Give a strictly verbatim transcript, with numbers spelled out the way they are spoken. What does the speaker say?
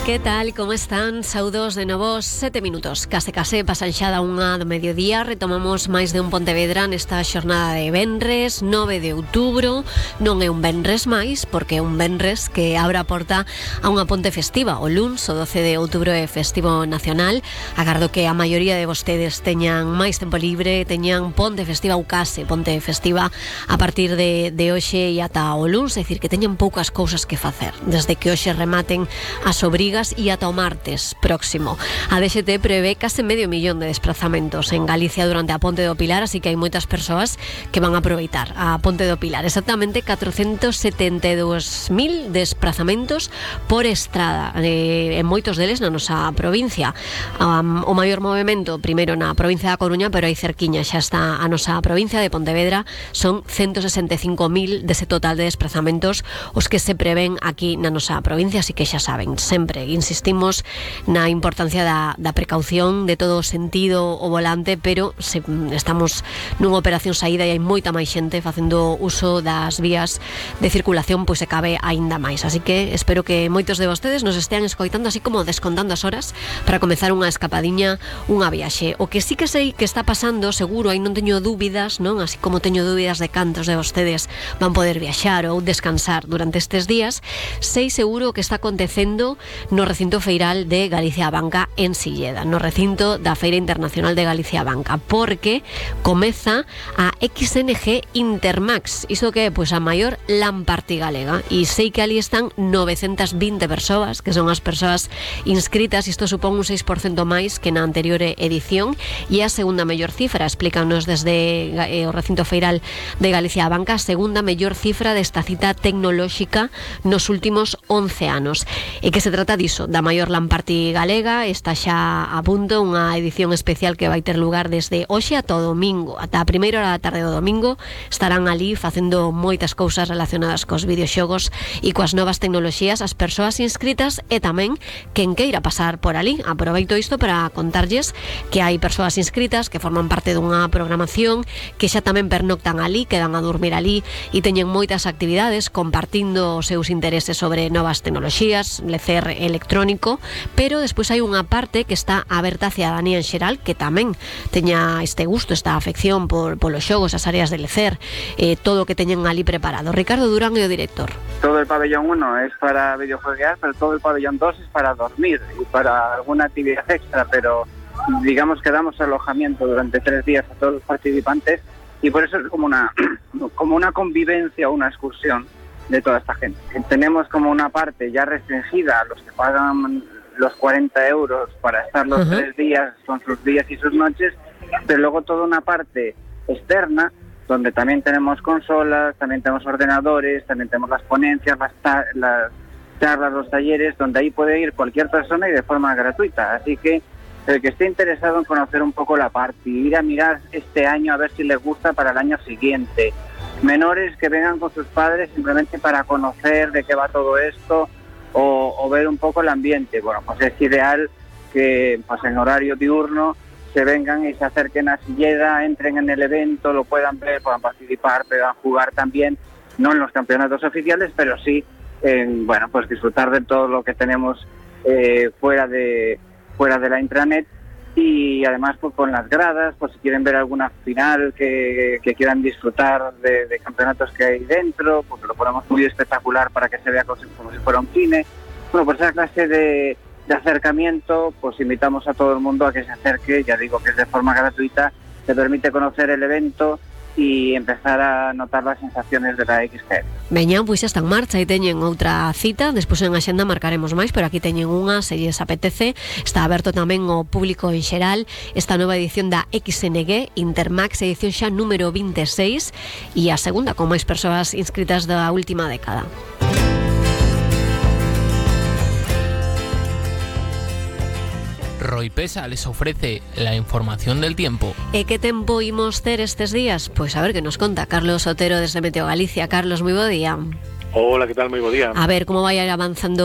Que tal, como están? Saudos de novo, sete minutos. Case case pasan xa da unha do mediodía. Retomamos máis de un Pontevedra nesta xornada de venres, nove de outubro. Non é un venres máis, porque é un venres que abre a porta a unha ponte festiva. O luns, o doce de outubro, é festivo nacional. Agardo que a maioría de vostedes teñan máis tempo libre, teñan ponte festiva ou case ponte festiva a partir de, de hoxe e ata o luns. É dicir, que teñan poucas cousas que facer. Desde que hoxe rematen as obrigas e ata o martes próximo. A D X T prevé case medio millón de desplazamentos en Galicia durante a Ponte do Pilar, así que hai moitas persoas que van a aproveitar a Ponte do Pilar. Exactamente catrocentos setenta e dous mil desplazamentos por estrada, eh, en moitos deles na nosa provincia. Um, o maior movimento primeiro na provincia da Coruña, pero aí cerquiña xa está a nosa provincia de Pontevedra. Son ciento sesenta e cinco mil dese total de desplazamentos os que se prevén aquí na nosa provincia, así que xa saben, sempre insistimos na importancia da, da precaución, de todo o sentido o volante, pero se estamos nunha operación saída e hai moita máis xente facendo uso das vías de circulación, pois se cabe aínda máis. Así que espero que moitos de vostedes nos estean escoitando, así como descontando as horas para comezar unha escapadiña, unha viaxe. O que sí que sei que está pasando, seguro, aí non teño dúbidas, non? Así como teño dúbidas de cantos de vostedes van poder viaxar ou descansar durante estes días, sei seguro que está acontecendo no recinto feiral de Galicia Banca en Silleda, no recinto da Feira Internacional de Galicia Banca, porque comeza a X N G Intermax. Iso que é, pois, a maior LAN party galega, e sei que ali están novecentas vinte persoas, que son as persoas inscritas. Isto supón un seis por cento máis que na anterior edición, e a segunda mellor cifra, explícanos desde eh, o recinto feiral de Galicia Banca, a segunda mellor cifra desta cita tecnolóxica nos últimos once anos. E que se trata diso, da maior LAN party galega. Está xa a punto unha edición especial que vai ter lugar desde hoxe ata o domingo, ata a primeira hora da tarde do domingo. Estarán ali facendo moitas cousas relacionadas cos videoxogos e coas novas tecnoloxías as persoas inscritas, e tamén quen queira pasar por ali. Aproveito isto para contarlles que hai persoas inscritas que forman parte dunha programación, que xa tamén pernoctan ali, quedan a dormir ali e teñen moitas actividades compartindo os seus intereses sobre novas tecnoloxías, lecer electrónico, pero despois hai unha parte que está aberta a cidadanía en xeral que tamén teña este gusto, esta afección por polos xogos, as áreas de lecer, eh, todo o que teñen ali preparado. Ricardo Durán é o director. Todo el pabellón uno es para videojuegar, pero todo el pabellón dos es para dormir y para alguna actividad extra, pero digamos que damos alojamiento durante tres días a todos los participantes, y por eso es como una, como una convivencia o una excursión de toda esta gente. Tenemos como una parte ya restringida a los que pagan los cuarenta euros para estar los uh-huh. tres días con sus días y sus noches, pero luego toda una parte externa donde también tenemos consolas, también tenemos ordenadores, también tenemos las ponencias, las, ta- las charlas, los talleres, donde ahí puede ir cualquier persona y de forma gratuita. Así que el que esté interesado en conocer un poco la parte y ir a mirar este año a ver si les gusta para el año siguiente. Menores que vengan con sus padres simplemente para conocer de qué va todo esto o, o ver un poco el ambiente. Bueno, pues es ideal que pues en horario diurno se vengan y se acerquen a Silleda, entren en el evento, lo puedan ver, puedan participar, puedan jugar también, no en los campeonatos oficiales, pero sí en, bueno, pues disfrutar de todo lo que tenemos eh, fuera de fuera de la intranet. Y además pues con las gradas, pues si quieren ver alguna final que, que quieran disfrutar de, de campeonatos que hay dentro, porque lo ponemos muy espectacular para que se vea como si, como si fuera un cine. Bueno, pues esa clase de, de acercamiento, pues invitamos a todo el mundo a que se acerque. Ya digo que es de forma gratuita, te permite conocer el evento e empezar a notar las sensaciones de la X G. Veña, pois xa está en marcha e teñen outra cita. Despois en axenda marcaremos máis, pero aquí teñen unha, se lles apetece. Está aberto tamén ao público en xeral esta nova edición da X N G Intermax, edición xa número veintiséis, e a segunda con máis persoas inscritas da última década. Roipesa les ofrece la información del tiempo. ¿E que tempo imos ter estes días? Pois a ver que nos conta Carlos Otero desde Meteo Galicia. Carlos, moi bo día. Hola, que tal? Moi bo día. A ver, como vai avanzando